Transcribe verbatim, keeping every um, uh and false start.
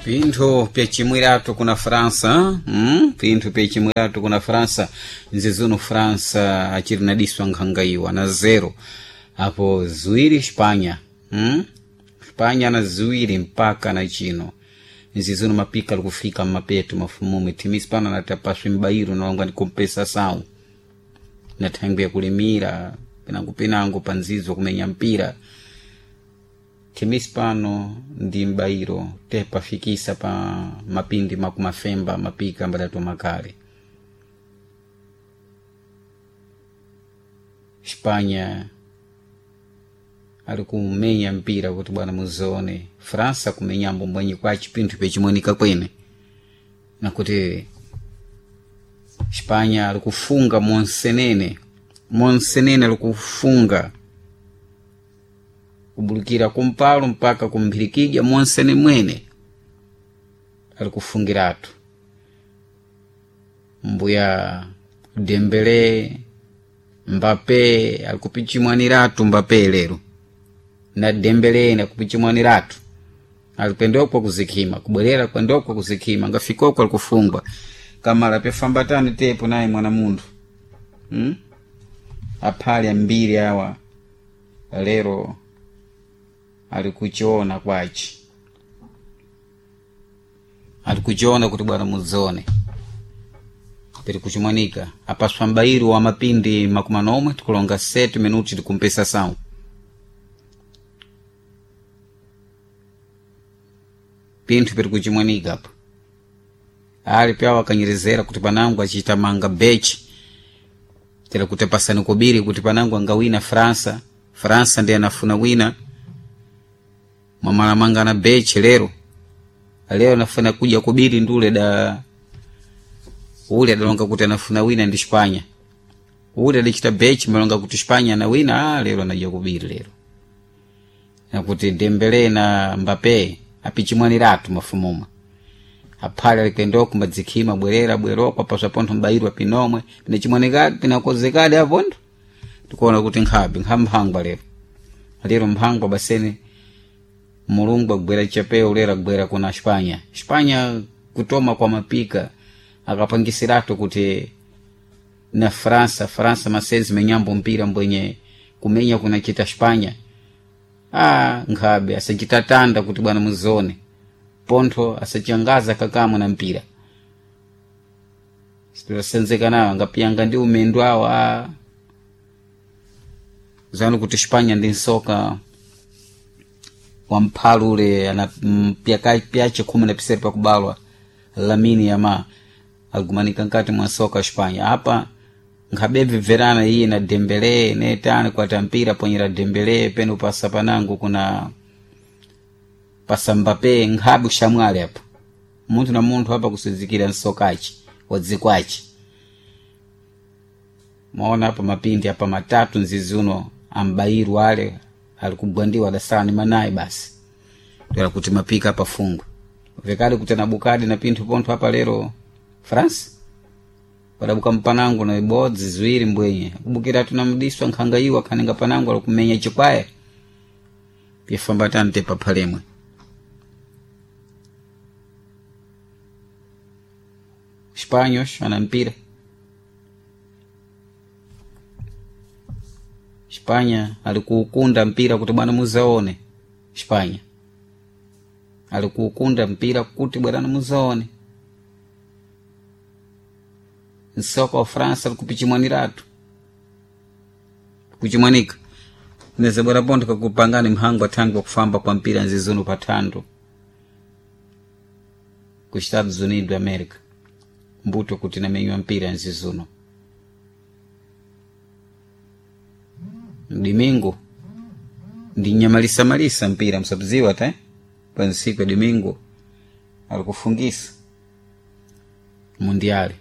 Pinthu pyacimwiratu kuna França, hmm? Pinthu pyacimwiratu kuna França, nzizuno França aciri nadiswa nkhangaiwa na zero apo ziwiri Espanha, hmm? Espanha na ziwiri mpaka na chino nzizuno mapika likufika mmapeto mafumume timisi pano natapaswa mbairo nalonga ni compensação na thangwi yakulimira pinango pinango panzizo kumenya mpira timisi pano ndi mbairo tepafikisa pa mapindi makumafemba mapika mbadatu makale Espanha ali kumenya mpira kuti bwana muzione França kumenyambo mbwenye kwa chipinthu pechimonika kwene nakuti Espanha ali kufunga monsenene monsenene ali kufunga kubulukira kumpalo mpaka kumphirikidya monsene mwene ali kufungiratu mbuya Dembele Mbappe ali kupichimwaniratu Mbappe lero na Dembele na kupichimwaniratu alipendokwa kuzikhima kubwerera kwendokwa kuzikhima ngafikoko alikufungwa kamala pyafambatani tepo naye mwana munthu hmm? Aphali ambiri awa lero alikuchiona kwachi alikuchiona kuti bwana mudzione piri kuchimwanika apaswa mbairo wa mapindi makumi manomwe tikulonga sete minuti tikumpesa sawu pinthu piri kuchimwanika apa ali pyawo akanyerezera kuti panango achita manga bechi tera kuti pasani kobiri kuti panango angawina França França ndiye anafuna wina mwamalamanga na bechi lero lero anafuna kuja kubiri ndule da ule adalonga kuti anafuna wina ndi Espanha ule adachita bechi malonga kuti Espanha na wina ah, lero anaja kubiri lero nakuti Dembele na Mbappe apichimwaniratu mafumuma aphale alikwendoko mbadzikhima bwerera bweroko apaswa pontho mbairwa pinomwe pinachimwanikadi pinakozekadi apontho tikuona kuti nkhabe nkhamphangwa lero lero mphangwa basene mulungu agwera chapeo lero agwera kuna Espanha Espanha kutoma kwa mapika akapangisiratu kuti na França França masenzi menyambo mpira mbwenye kumenya kunachita Espanha ah nkhabe asachitatanda kuti bwana muzione pontho asachangaza kakamwe na mpira sitasenzeka nawo angapiyanga ndi umendo awo a zanu kuti Espanha ndi nsoka wamphalu ule ana pyache khumi na pisere pakubalwa Lamine Yamal aligumanika nkati mwa soka Espanha apa nkhabebveverana iye na Dembele netani kwata mpira ponyera Dembele peno pasa panango kuna pasa Mbappe nkhabe kushamwali apa munthu na munthu apa kusizikira nsokachi wadzikwachi maona apa mapindi apa matatu nzizi uno ambairu ale alikugwandiwa adasala ni manayi basi toera kuti mapika apa fungwe vekali kuti anabukadi na pinthu pontho apa lero France padabuka mpanango na ibodzi ziwiri mbwenye akubukira tunamudiswa nkhanga iwo akhaninga panango alikumenya chikwaya pyafambatani tepa phalemwe Espanhos ana mpira Espanha alikuukunda mpira kuti bwana muzaone Espanha alikuukunda mpira kuti bwana muzaone nsoka wa França likupichimwaniratu kuchimwanika neze bwana pontho kakupangani mhango athangi wakufamba kwa mpira nzizuno pathando ku Estados Unidos da América mbuto kuti namenywa mpira nzizuno domingo ndi nyamalisamalisa mpira msabziwa ta pa nsiku ya domingo alikufungisa mundiali